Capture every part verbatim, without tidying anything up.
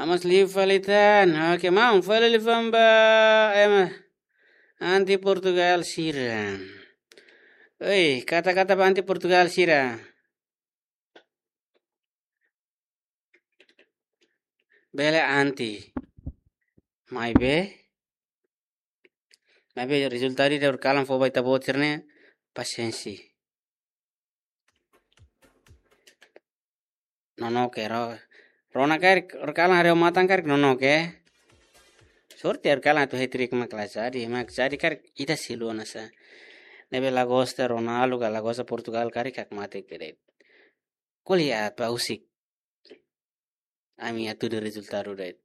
Amas liu fali tan. Oke, maun, fali liu fali ba ema anti Portugal sira. Oi, kata-kata ba anti Portugal sira. Bele anti. Maibé. Maibé rezultadu ida horikalan fó ba ita-boot sira-ne'e pasiénsia. Nonook ro. Rona karik, horikalan haree ho matan karik nonook. Sorte horikalan atu hat-trick mak la jadi, mak jadi karik ita selu ona sa. Ne'ebé la gosta Ronaldo ka la gosta Portugal karik hak mate kere. Ko'alia ba husik. Ami atu de rezultadu de'it.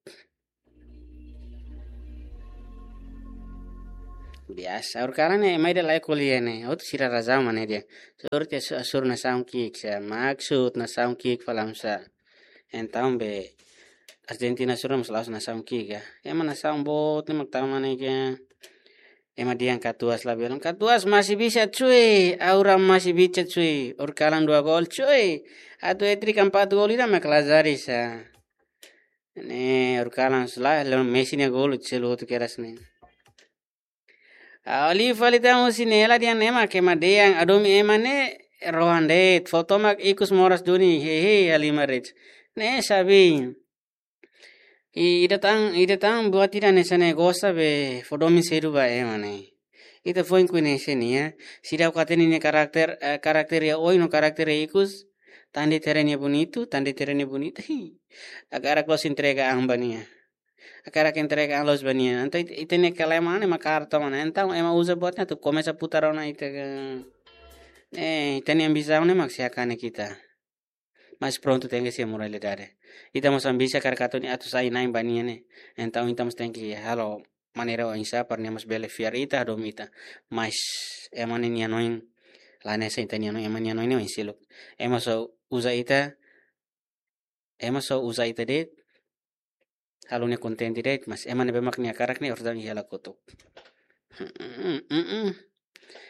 Biasa, horikalan ne'e ema ida la ko'alia ne'e. Hotu sira razaun mak ne'e de'it. Sorte asur, asur nasaun ki'ik sa. Maksud nasaun ki'ik fali sa. Entaun be Argentina sura mós la'ós nasaun ki'ik ka. Ema nasaun boot ne'e mak tama ne'e ka. Ema dehan katuas la belun. Katuas masih bisa cuy. Aura masih bisa cuy. Horikalan dua gol cuy. Atu hat-trick empat gol ida mak la jadi sa. Ne'e horikalan sela lo Messi nia gol selu hotu kedas ne'e. Liu fali tan husi Nela dehan ema ke ema dehan hadomi ema ne'e rohan de'it. Foto mak ikus moras duni. Hehe, halimar de'it. Ne'e sabi. I, ida tan, ida tan buat ida hanesan ne'e gosta be fó domin sedu ba ema ne'e. Ita foin koñese nia, seidauk hatene nia karakter, eh, karakter iha oin no karakter iha ikus, tan de'it haree nia bonitu, tan de'it haree nia bonitu, hi. Hakarak loos entrega an ba nia. Hakarak entrega an loos ba nia. Entaun it-, ita-nia kalema ne'e mak karta mana. Entaun ema uza buat ne'e atu komesa putar ona ita ka. Eh, ita-nia ambisaun ne'e mak sei hakat ita. Mas prontu tenke iha moralidade. Ita mós ambisa karik atu nia atu sai na'in ba nia ne'e. Entaun ita mós tenke halo maneira oinsá para nia mós bele fiar ita, hadomi ita. Mas ema ne'e nia hanoin la hanesan ita-nia hanoin, ema nia hanoin ne'e oin seluk. Ema só uza ita, ema só uza ita de'it, halo nia kontente de'it, mas ema ne'ebé mak nia hakarak ne'e orsida iha hela kotuk.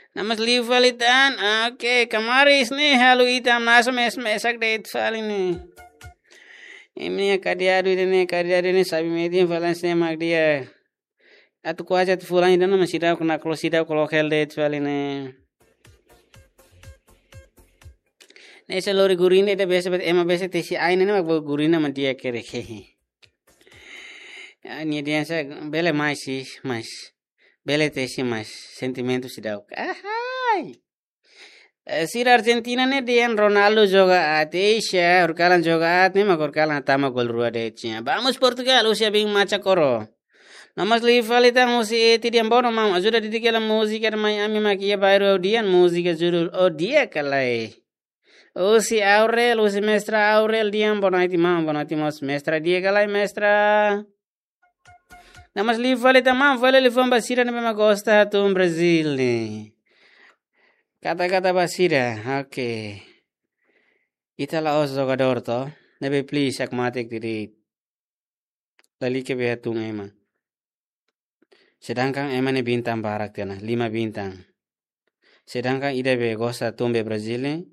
Namas liu fali tan, oke, Kamaris ne'e halo ita hamnasa mes-, mesak de'it fali ne'e. Imi ne'e kadiadu ida ne'e, kadiadu ne'e sabi metin fali ne'e mak dehan. Atu kuaze atu fulan ida ne'e mas seidauk nakloke, seidauk loke hela de'it fali ne'e. Ne'e se lori gurina ida bese bet ema bese tesi ain ne'e mak bo gurina mak di'ak kere hehe. Ah, nia dehan sa bele mais sih, mais. Bele tesi mais. Sentimentu seidauk. Ahai. Eh, sira Argentina ne'e dehan Ronaldo joga aat, eixa, horikalan joga aat, ne'e mak horikalan tama gol rua de'it nia. Vamos Portugal, husi Abin Macha Koro. Namas liu fali tan husi Eti dehan bono maun, ajuda didik hela múzika de mai ami mak iha bairru Audian, múzika judul O Dia Ka Lae. Husi Aurel, husi mestra Aurel dehan boa noite maun, boa noite mós mestra, dia ka lae mestra. Namas liu fali tan maun, fali liafuan ba sira ne'ebé mak gosta hatún Brazil ne'e. Kata-kata ba sira, oke. Ita la'ós jogadór to, ne'ebé please hakmatek de'it. Lalika be hatún ema. Sedangkan ema ne'e bintang barak tiha ona, lima bintang. Sedangkan ida be gosta hatún be Brazil ne'e,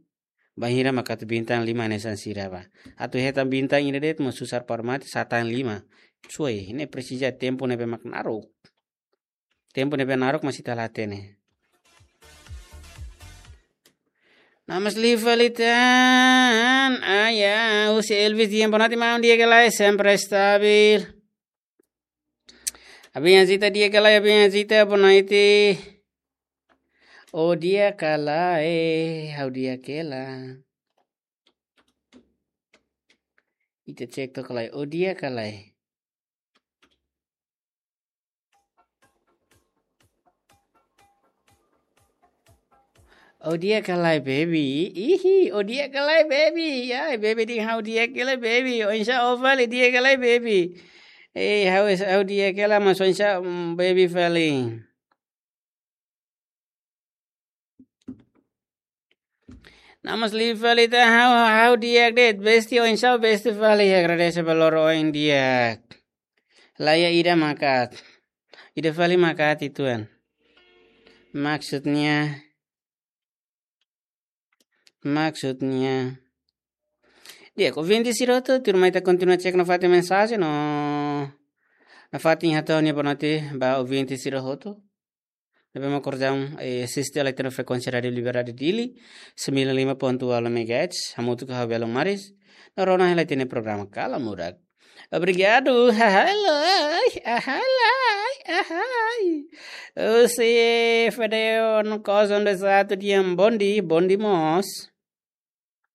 bainhira mak atu bintang lima hanesan sira ba. Atu hetan bintang ida de'it mós susar para mate, sá tan lima. Suai, ne'e presiza tempu ne'ebé mak naruk. Tempu ne'ebé naruk mós ita la hatene. Namas liu fali tan, ah ya, husi Elvis dehan boa noite maun, dia ka lae, sempre stabil. Abin Azita, dia ka lae, Abin Azita, boa noite. O dia ka lae, ha'u di'ak hela. Ita cek to'ok ka lae, o dia ka lae. O dia ka lae baby, ihi, o dia ka lae baby, ai baby dehan ha'u di'ak hela baby, oinsá ó fali dia ka lae baby. Eh, ha'u es-, ha'u di'ak hela mas oinsá, mm, baby fali. Namas liu fali tan ha'u, ha'u di'ak de'it, besti oinsá besti fali, agradese ba loron oin di'ak. Laiha ida mak aat. Ida fali mak aat ituan. Maksudnya, maksudnya, Di'ak, ouvinte sira hotu, tuirmai ita kontinua cek nafatin mensajen no nafatin hato'o nia boa noite ba ouvinte sira hotu. Ne'ebé mak orsida, eh, asiste hela ita-nia frekuénsia Rádiu Liberdade Dili, sembilan lima ponto dua megahertz, hamutuk ho ha'u Belo Maris, no rona hela ita-nia programa Kala Murak. Obrigadu, ahalai, ahalai, ahai. Husi Fedeo no Kozon de Satu Diam, bonde, bonde mós.